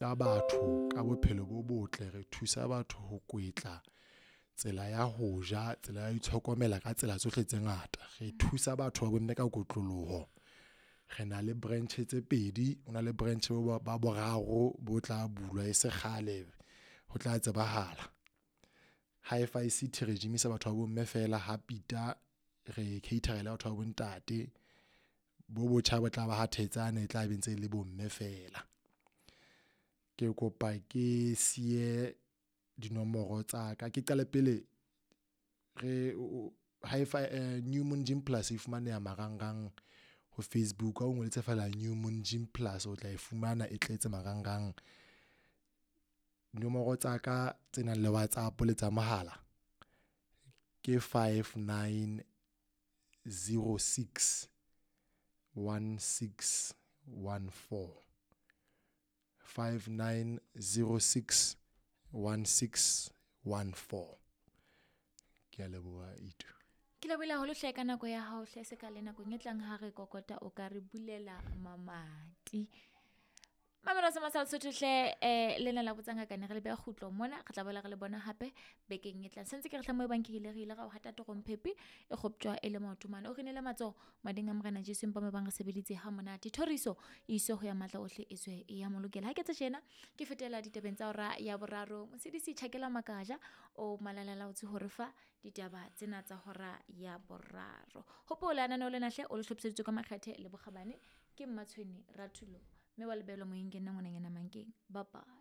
Batho ka bophelo bo botle, re thusa batho ho kwetla tsela ya ho ja, tsela ya ho itlhokomela ka tsela tsohle tse ngata. Re thusa batho ba bomme ka kotloloho. Re na le branch tse pedi, ho na le branch ba boraro bo tla bulwa e se kgale ho tla tsebahala. Hi-Fi City re gym-isa batho ba bomme feela ha Pieter re cater-a le batho ba bontate. Bo botjha bo tla ba Ha Thetsane e tla be ntse le bomme feela. Ke kopa ke siye dinomoro tsa ka, ke qale pele re Hi-Fi New Moon Gym Plus e fumaneha marangrang ho Facebook ha o ngodise feela New Moon Gym Plus o tla e fumana e tletse marangrang. Nomoro tsa ka tse nang le WhatsApp le tsa mohala ke 5906 1614, 5906 1614. Ke a leboha Itu. Ke lebohile haholo hle ka nako ya hao hle se ka le nakong e tlang ha re kokota o ka re bulela mamati. Mamelo sa masala Sotho hle lena la botsa ngaka ne re le beha kgutlo mona, re tla boela re le bona hape bekeng e tlang. Sentse ke re hle mo e bang ke ile re ile ra o hata torong phepi e kgoptjwa e le maoto mane. O re inele matsoho mading a Morena Jesu empa mo bang re sebeditse ha monate. Thoriso e iswe ho ya matla ohle e tswe e ya mo lokela. Ha ke tse tjena ke fetela ditabeng tsa hora ya boraro. Mosedisi Tjhakela Makaja o malalala o tse hore fa ditaba tsena tsa hora ya boraro. Hopola lenaneo lena hle o le hlophiseditswe ka makgethe le bokgabane ke Mmatshweni Rathulo, mme wa lebelo moyeng ke nna ngwananyana Mankeng. Bye bye.